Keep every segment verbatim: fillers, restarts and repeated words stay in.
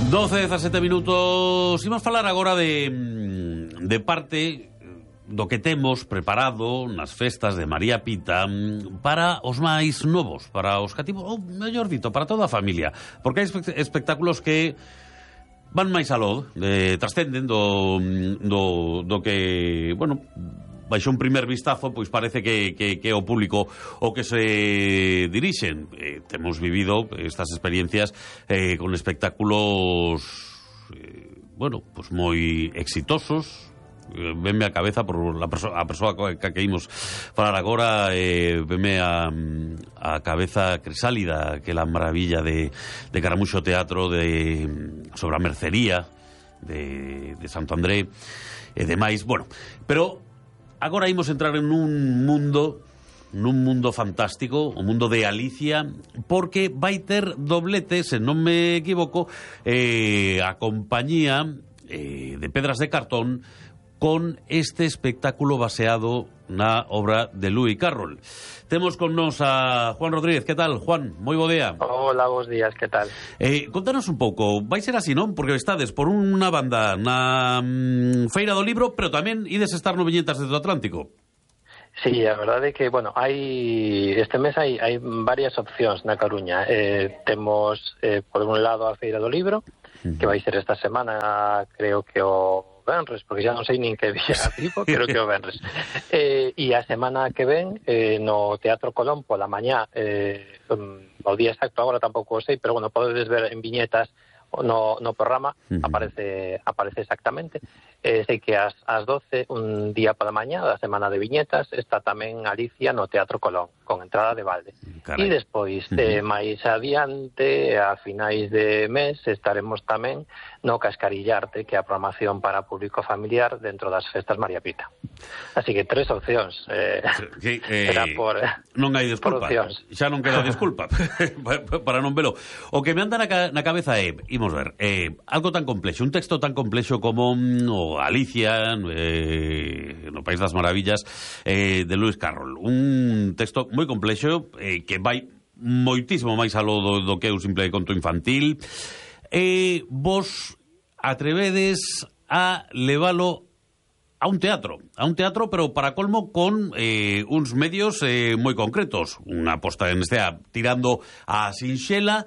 doce, dezasete minutos. Imos falar agora de, de parte do que temos preparado nas festas de María Pita para os máis novos, para os cativos, ou mellor dito, para toda a familia, porque hai espectáculos que van máis aló, eh, trascenden do, do, do que, bueno, baixo un primer vistazo, pois parece que, que, que é o público o que se dirixen. Eh, temos vivido estas experiencias eh, con espectáculos, eh, bueno, pois moi exitosos. Eh, venme a cabeza por la perso a persoa que, que imos falar agora, eh, venme a, a cabeza Crisálida, que é a maravilla de, de Caramuxo Teatro de, sobre a mercería de, de Santo André e demais. Bueno, pero agora imos entrar en un mundo, nun mundo fantástico, o mundo de Alicia, porque vai ter doblete, se non me equivoco, eh, a compañía eh, de Pedras de Cartón, con este espectáculo baseado na obra de Lewis Carroll. Temos con nos a Juan Rodríguez. Que tal, Juan? Moi bo día. Hola, bos días, que tal? Eh, contanos un pouco, vai ser así, non? Porque estades por unha banda na mm, Feira do Libro, pero tamén ides estar no Viñetas do Atlántico. Sí, a verdade é que, bueno, hai este mes hai, hai varias opcións na Coruña. Eh, temos, eh, por un lado, a Feira do Libro, uh-huh. que vai ser esta semana, creo que o venres, porque xa non sei nin que día tipo, creo que o venres. Eh, e a semana que ven, eh, no Teatro Colón, pola mañá, eh, o día exacto agora tampouco o sei, pero, bueno, podedes ver en viñetas no, no programa, uh-huh. aparece aparece exactamente. Eh, sei que ás, ás doce, un día pola mañá da semana de viñetas, está tamén Alicia no Teatro Colón, con entrada de balde. Carai. E despois, uh-huh. eh, máis adiante, a finais de mes, estaremos tamén no Cascarillarte, que é a programación para público familiar dentro das festas María Pita. Así que tres opcións. Eh, sí, eh, por, non hai desculpa. Xa non queda desculpa para non velo. O que me anda na, na cabeza é, imos ver, eh, algo tan complexo, un texto tan complexo como o Alicia, eh, no País das Maravillas, eh, de Lewis Carroll. Un texto moi complexo, eh, que vai moitísimo máis aló do, do que é un simple conto infantil. E eh, vos atrevedes a levalo a un teatro, a un teatro, pero para colmo con eh, uns medios eh, moi concretos. Unha posta en estea tirando a sinxela,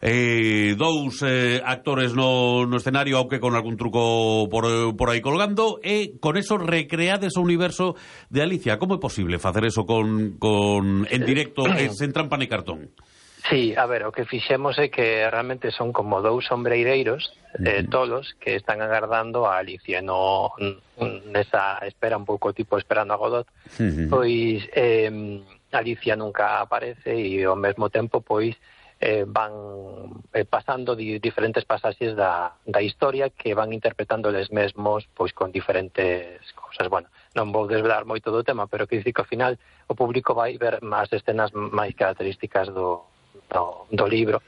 eh, dous eh, actores no, no escenario, aunque con algún truco por, por aí colgando, e con eso recreades o universo de Alicia. Como é posible facer eso con, con en directo, eh, sen trampa ni cartón? Sí, a ver, o que fixemos é que realmente son como dous sombreireiros eh, tolos que están agardando a Alicia no, nesa espera un pouco tipo esperando a Godot. Uh-huh. Pois eh, Alicia nunca aparece e ao mesmo tempo pois eh, van eh, pasando di, diferentes pasaxes da, da historia que van interpretando eles mesmos pois con diferentes cousas. Bueno, non vou desvelar moito do tema, pero que dicir que ao final o público vai ver as escenas máis características do Do, do libro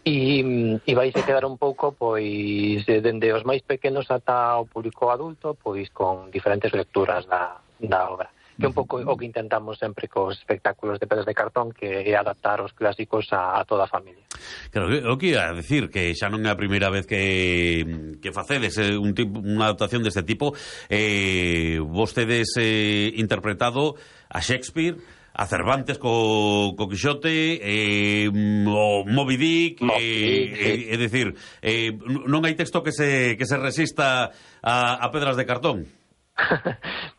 e, e vais a quedar un pouco pois dende os máis pequenos ata o público adulto pois con diferentes lecturas da, da obra, que é un pouco o que intentamos sempre cos espectáculos de Pedras de Cartón, que é adaptar os clásicos a, a toda a familia. Claro, o que ia decir que xa non é a primeira vez que, que facedes un tipo, unha adaptación deste tipo. eh, vostedes eh, interpretado a Shakespeare, a Cervantes co, co Quixote, eh, o Moby Dick, Moby eh, Dick, sí. é dicir, eh, non hai texto que se, que se resista a, a Pedras de Cartón.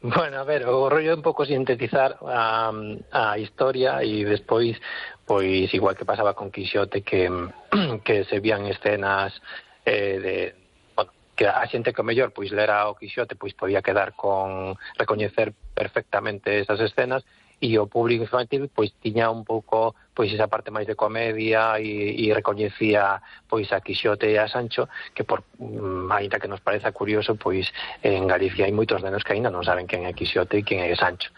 Bueno, a ver, o rollo é un pouco sintetizar a, a historia e despois, pois, igual que pasaba con Quixote, que, que se vían escenas eh, de... que a xente que o mellor pois lera o Quixote pois podía quedar con recoñecer perfectamente esas escenas, e o público infantil pois tiña un pouco pois esa parte máis de comedia e, e recoñecía pois a Quixote e a Sancho, que por mm, ainda que nos pareza curioso, pois en Galicia hai moitos nenos que ainda non saben quen é Quixote e quen é Sancho.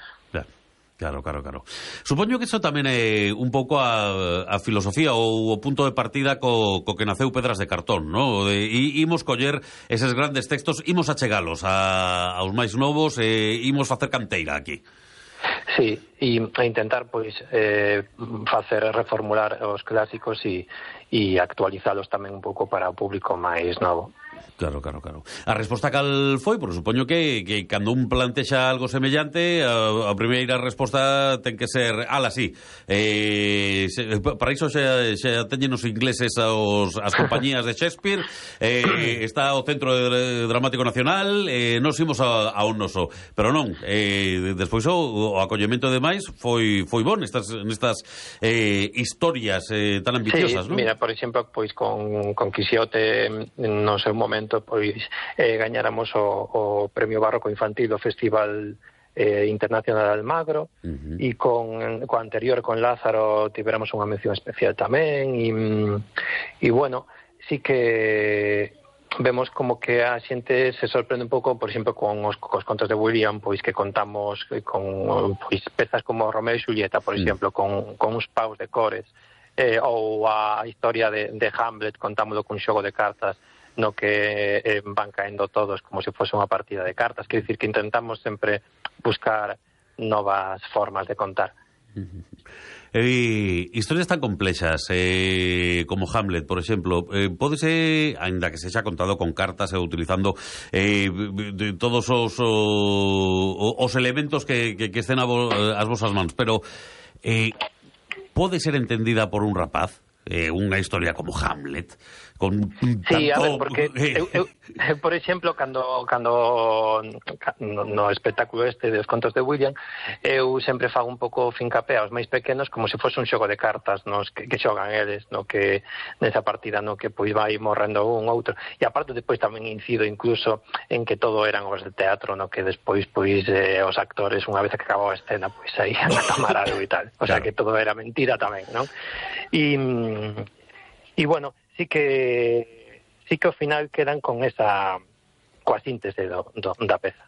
Claro, claro, claro. Supoño que iso tamén é un pouco a, a filosofía ou o punto de partida co, co que naceu Pedras de Cartón, ¿no? De, e imos coller eses grandes textos, imos achegalos a, aos máis novos e imos facer canteira aquí. Sí, e, e intentar pois eh, facer reformular os clásicos e, e actualizalos tamén un pouco para o público máis novo. Claro, claro, claro. A resposta cal foi, por supoño que, que cando un plantexa algo semellante, a, a primeira resposta ten que ser, ala, sí, eh, se, para iso xa, xa teñen os ingleses aos, as compañías de Shakespeare, eh, está o Centro Dramático Nacional, eh, nos imos a, a un noso, pero non, eh, despois o, o acollemento de máis foi, foi bon nestas, nestas eh, historias eh, tan ambiciosas, sí, non? Mira, por exemplo, pois con, con Quixote no seu momento pois eh, gañáramos o, o Premio Barroco Infantil do Festival eh, Internacional de Almagro, uh-huh. e con co anterior, con Lázaro, tivéramos unha mención especial tamén, e, e bueno, sí que vemos como que a xente se sorprende un pouco, por exemplo, con os, cos contos de William, pois que contamos con pois pezas como Romeo e Xulieta, por exemplo, uh-huh. con, con uns paus de cores, eh, ou a historia de, de Hamlet, contámoslo cun xogo de cartas, no que eh, van caendo todos como se fose unha partida de cartas. Quer dicir que intentamos sempre buscar novas formas de contar. Eh, historias tan complexas eh, como Hamlet, por exemplo, eh, pódese, ainda que se xa contado con cartas e utilizando eh, de todos os, o, os elementos que, que, que estén a vo, as vosas mans, pero eh, pode ser entendida por un rapaz? Eh, unha historia como Hamlet con tanto... Sí, a ver, porque eu, eu, por exemplo, cando cando no, no espectáculo este dos contos de William, eu sempre fago un pouco fincapé aos máis pequenos como se fose un xogo de cartas nos que, que xogan eles, no que nesa partida no que pois vai morrendo un outro, e aparte depois tamén incido incluso en que todo eran obras de teatro, no que despois pois eh, os actores unha vez que acababa a escena pois saían a tomar algo e tal, o sea, claro, que todo era mentira tamén, non? E e bueno, sí que sí que ao final quedan con esa coa síntese do, do, da peza.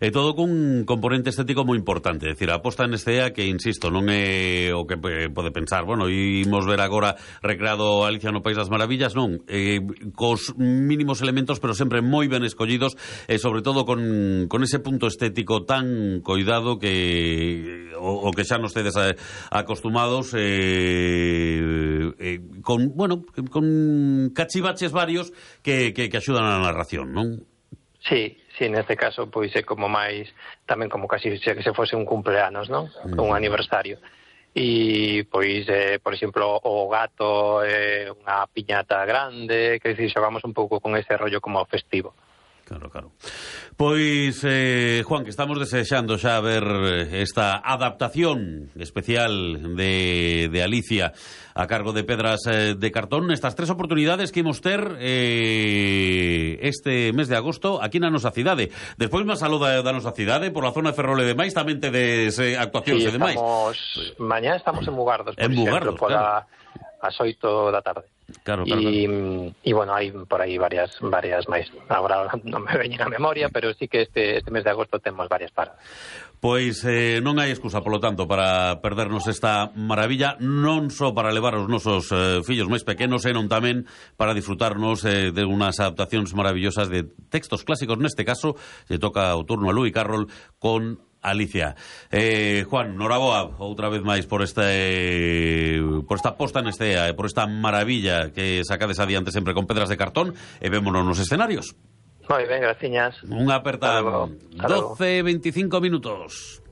E todo cun componente estético moi importante, é dicir, a posta en escena que, insisto, non é o que pode pensar, bueno, imos ver agora recreado Alicia no País das Maravillas, non, eh, cos mínimos elementos, pero sempre moi ben escollidos, e sobre todo con, con ese punto estético tan coidado que o, o que xa nos tedes acostumados, eh, eh, con, bueno, con cachivaches varios que, que, que axudan a narración, non? Sí, sí, neste caso pois é como máis tamén como casi se que se fose un cumpleanos, non? Mm. Un aniversario. E pois eh, por exemplo, o gato é eh, unha piñata grande, que dicir, xogamos un pouco con ese rollo como festivo. Claro, claro. Pois, eh, Juan, que estamos desexando xa ver esta adaptación especial de, de Alicia a cargo de Pedras eh, de Cartón, estas tres oportunidades que imos ter eh, este mes de agosto aquí na nosa cidade. Despois máis saluda da nosa cidade, por a zona de Ferrol e demais, tamén tedes eh, actuacións sí, e demais. Mañá estamos en Mugardos, por en exemplo, Mugardos, por claro. a, as oito da tarde. Claro, claro, y, claro. y bueno, hai por aí varias varias máis. Agora non me veñen a memoria, pero sí que este, este mes de agosto temos varias paradas. Pois eh, non hai excusa, polo tanto, para perdernos esta maravilla, non só para levar os nosos eh, fillos máis pequenos, senón tamén para disfrutarnos eh, de unhas adaptacións maravillosas de textos clásicos. Neste caso, se toca o turno a Luis Carroll con Alicia. Eh, Juan, noraboa outra vez máis por esta eh, por esta posta en escena e por esta maravilla que sacades adiante sempre con Pedras de Cartón, e vémonos nos escenarios. Moi ben, graciñas. Unha aperta doce veinticinco minutos.